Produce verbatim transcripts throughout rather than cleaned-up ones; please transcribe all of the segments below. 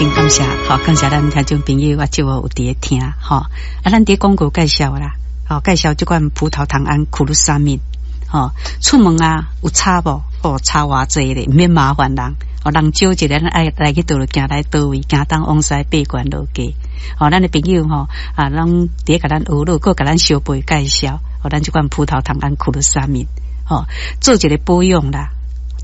真感謝，吼，感謝咱聽眾朋友，我就有佇咧聽，吼，啊，咱佇廣告介紹啦，吼，介紹這款葡萄糖胺苦魯沙米，吼，出門啊有差無？哦，差偌濟咧，毋免麻煩人，哦，人少一个，咱愛來去佗落，行來佗位，行東往西爬懸落低，吼，咱的朋友吼，啊，攏佇咧共咱學落，閣共咱相背介紹，吼，咱這款葡萄糖胺苦魯沙米，吼，做一个保養啦，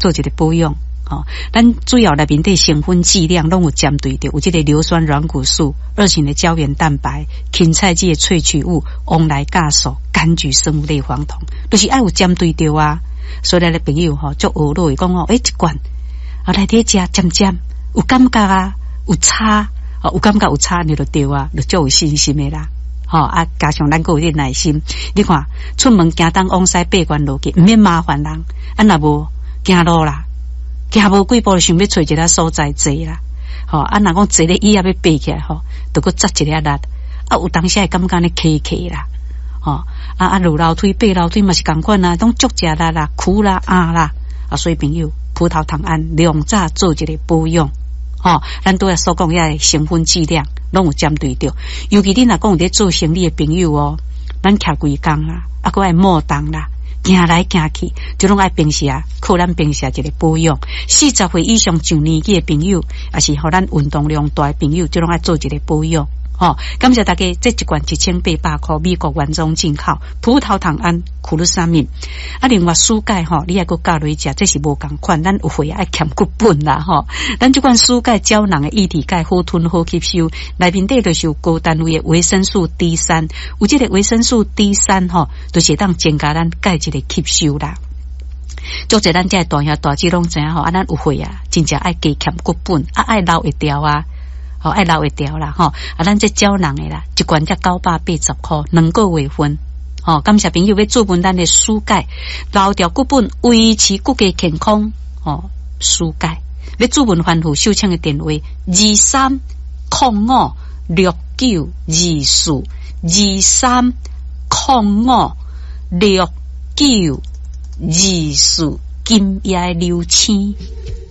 做一个保養。吼，咱主要內面底成分劑量攏有針對著，有這个硫酸軟骨素、二型的膠原蛋白、芹菜籽的萃取物、黃來酵素、柑橘生物類黃酮，都是愛有針對著啊。所以咱的朋友吼，足學落講吼，欸，一罐啊來佇食針針有感覺啊，有差，哦，有感覺有差，你就對啊，就足有信心的啦。吼啊，加上咱閣有點耐心，你看出門行東往西爬懸落去，毋免麻煩人，啊若無行路啦。行無幾步就想欲揣一个所在坐啦，吼啊！若講坐咧椅仔欲爬起來吼，就閣紮一下力，啊有當時會感覺按呢磕磕啦，吼啊啊落樓梯爬樓梯嘛是仝款啊，攏足食力啦、苦啦、壓啦，啊所以朋友葡萄糖胺量早做一个保養，吼，咱拄仔所講遐个成分劑量攏有針對著，尤其恁若講有咧做生理的朋友哦，咱徛規工啦，啊閣愛摩動啦。行來行去，就攏愛平時啊，靠咱平時一个保養。四十歲以上上年紀的朋友，抑是予咱運動量大的朋友，就攏愛做一个保養。吼，感謝大家，這一罐一千八百箍，美國原裝進口葡萄糖胺苦魯沙米。啊，另外舒鈣吼，你愛閣加落食，這是無仝款，咱有會愛欠骨本啦吼。咱這款舒鈣膠囊的液體鈣好吞好吸收，內面底就是有高單位的維生素 D 三，有這個維生素 D 三吼，就是會當增加咱鈣質的吸收啦。足濟咱這大兄大姊攏知影吼，啊，咱有會啊，真正愛加欠骨本，啊，愛留會牢啊。吼，愛留會牢啦，吼！啊，咱這膠囊的啦，一罐才九百八十箍，兩個月份。吼，感謝朋友欲注文咱的舒鈣，留牢骨本，維持骨骼健康。吼，舒鈣欲注文吩咐收請的電話：二三空五六九二四，二三空五六九二四，今夜流星。